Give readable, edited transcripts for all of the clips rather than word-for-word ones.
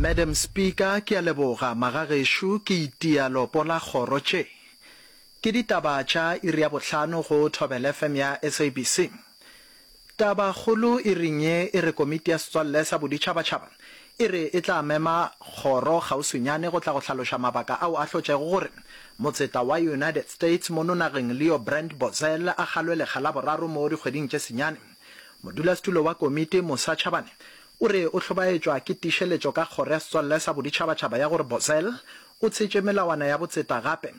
Madam Speaker, ke a leboga. Magagešo, ke itia lopo la kgoro tše. Ke ditaba tša iri ya bohlano go Thobela FM ya SABC. Tabakgolo iring ye e re Komiti ya Setswalle sa Boditšhabatšhaba e re e tla mema kgoro kgauswinyane go tla go hlaloša mabaka ao a hlotšego gore motseta wa United States mono nageng Leo Brand Bozell a kgalwe lekga la boraro mo dikgweding tše senyane. Modulasetulo wa komiti Musa Chabane o re o hlobaetšwa ke tiišeletšo ka kgoro ya Setswalle sa Boditšhabatšhaba ya gore Bozell o tshetše melawana ya botseta gape.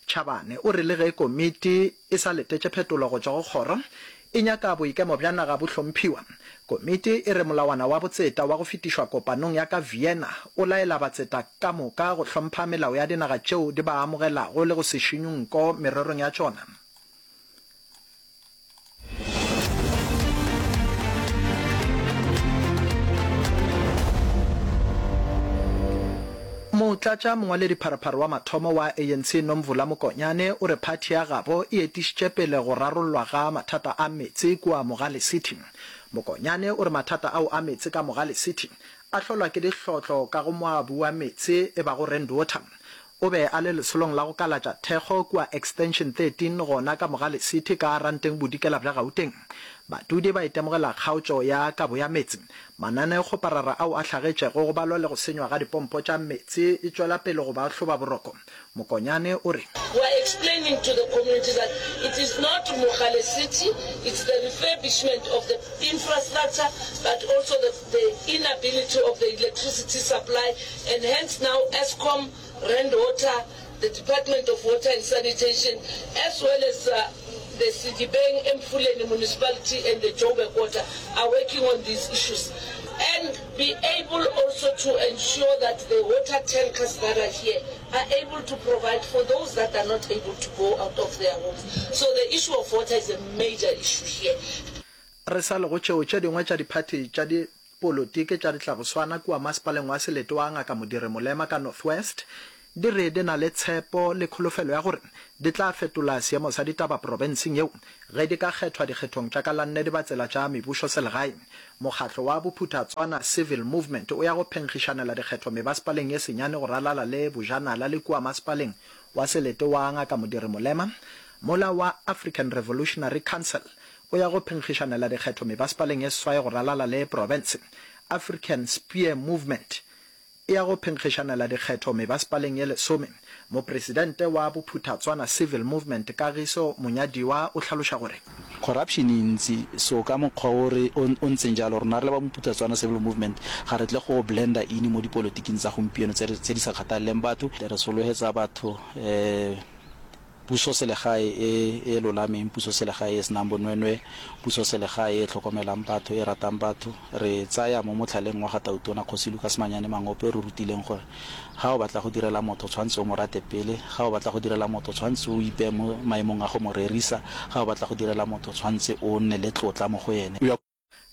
Chabane o re le ge komiti e sa letetše phetolo go tšwa go kgoro, e nyaka boikemo bja naga bo hlomphiwa. Komiti e re molawana wa botseta wa go fetišwa kopanong ya ka Vienna o laela batseta ka moka go hlompha melao ya dinaga tšeo di ba amogelago le go se šinywe nko mererong ya tšona. Motlatša mongwaledipharephare wa mathomo wa ANC Nomvula Mokonyane o re phathi ya gabo e etišitše pele go rarollwa ga mathata a meetse kua Mogale City. Mokonyane o re mathata ao a meetse ka Mogale City a hlolwa ke dihlotlo ka go moabu wa meetse e bago Rand Water. O be a le lesolong la go kalatša thekgo kua Extension 13 gona ka Mogale City ka Ranteng Bodikela bja Gauteng. Badudi ba itemogela kgaotšo ya kabo ya meetse. Mananeokgoparara ao a hlagetšego go balwa le go senywa ga dipompo tša meetse e tšwela pele go ba hloba boroko. Mokonyane o re. We are explaining to the community that it is not Mogale City, it's the refurbishment of the infrastructure but also the the inability of the electricity supply and hence now Eskom, Rand Water, the Department of Water and Sanitation as well as the Sedibeng, Emfuleni Municipality and the Joburg Water are working on these issues and be able also to ensure that the water tankers that are here are able to provide for those that are not able to go out of their homes. So the issue of water is a major issue here. Re sa le go tšeo, tše dingwe tša diphathi tša dipolotiki tša ditlaboswana kua masepaleng wa selete wa Ngaka Modiri Molema ka North West di re di na le tshepo le kholofelo ya gore di tla fetola seemo sa ditaba profenseng yeo ge di ka kgethwa dikgethong tša ka la nne dibatsela tša mebušoselegae. Mokgatlo wa Bophuthatswana Civil Movement o ya go phenkgišanela dikgetho mebasepaleng ye senyane go ralala le Bojanala le kua masepaleng wa selete wa Ngaka Modiri Molema mola wa African Revolutionary Council O ya go phenkgišanela dikgetho mebasepaleng ye seswai go ralala le profense. African Spear Movement e ya go phenkgišanela dikgetho mebasepaleng ye lesome. Mopresidente wa Bophuthatswana Civil Movement Kagiso Monyadiwa o hlaloša gore. Corruption e ntsi, so ka mokgwa o re o o ntseng jalo rona re le ba Bophuthatswana Civil Movement ga re tle go blender in mo dipolotiking tsa gompieno tse re tse di sa kgathaleleng batho. Re solohetsa batho Pusoselegae e e lolameng, pusoselegae e e senang bonweenwee, pusoselegae e e tlhokomelang batho, e ratang batho. Re tsaya mo motlhaleng wa ga Tautona Kgosi Lucas Manyane Mangope o re rutileng gore ga o batla go direla motho o tshwanetse o mo rate pele, ga o batla go direla motho o tshwanetse o ipeye mo maemong a go mo rerisa, ga o batla go direla motho o tshwanetse o nne le tlotla mo go ene.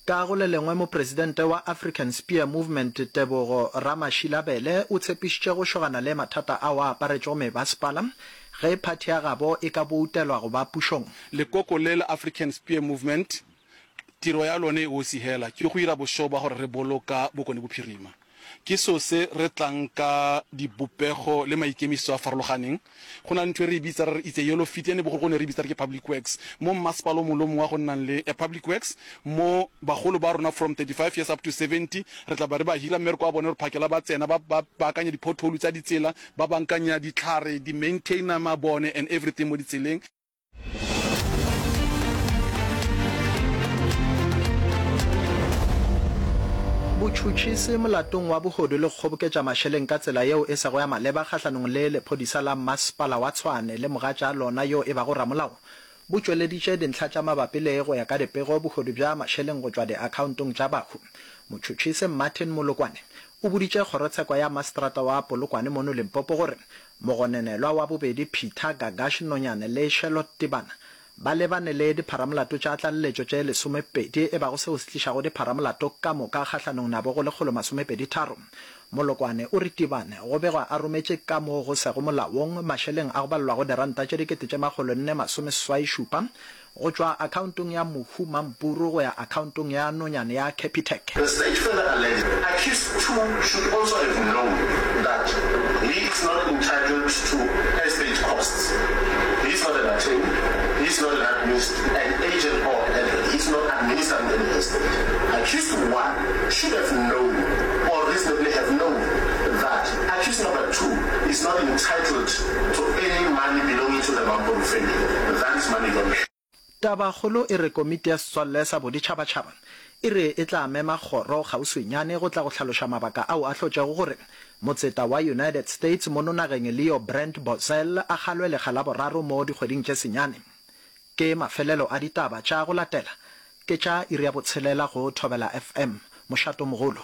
Ka go le lengwe, Mopresidente wa African Spear Movement Tebogo Ramashilabele o tshepišitše go šogana le mathata ao a aparetšego mebasepala ge phathi ya gabo e ka boutelwa go ba pušong. Lekoko le la African Spear Movement tiro ya lone e osi hela ke go ira bošego ba gore re boloka Bokone Bophirima. Ke seo se re tlang ka dibopego le maikemišetšo a farologaneng. Go na le ntho e re e bitsa re re it's a yellow feet, ene bogologolo ne re e bitsa re ke public works. Mo mmasepala o mongwe le o mongwe wa go nnang le a public works, mo bagolo ba rona from 35 years up to 70, re tla ba re ba hira mmereko wa bone gore phakela ba tsena ba ba baakanya di-pothole tsa ditsela, ba bankanya ditlhare, di-maintainer mabone and everything mo ditseleng. Botšhotšhisi molatong wa bohodu le go kgoboketša mašeleng ka tsela yeo e sego ya maleba kgahlanong le lephodisa la Masepala wa Tshwane le mogatša lona yo e bago ramolao bo tšweleditše dintlha tša mabapi le go ya ka dipego bohodu bja mašeleng go tšwa diakhaontong tša bahu. Motšhotšhisi Martin Molokwane o boditše kgorotsheko ya Maseterata wa Polokwane mono Limpopo gore Mogononelwa wa bobedi Peter Gagash Nonyane le Sherlot Tibana ba lebane le dipharamolato tša tlaleletšo tše lesomepedi e bago seo se tlišago dipharamolato ka moka kgahlanong nabo go lekgolomasomepeditharo. Molokwane o re Tibane go begwa a rometše ka mo go sego molaong mašeleng a go balelwago diranta tše dikete tše makgolonne masomeseswai-šupa go tšwa akhaontong ya Mohu Mampuru go ya akhaontong ya nonyane ya Capitec. The state further alleged accused two should also have known. arrested. Accused one should have known or reasonably have known that accused number 2 is not entitled to any money belonging to the Mampuru family. That is money laundering. Tabakgolo e re Komiti ya Setswalle sa Boditšhabatšhaba e re e tla mema kgoro kgauswinyane go tla go hlaloša mabaka ao a hlotšego gore motseta wa United States mono nageng Leo Brent Bozell a kgalwe lekga la boraro mo dikgweding tše senyane. Ke mafelelo a ditaba tša go latela ke tša iri ya botshelela go Thobela FM, mošatomogolo.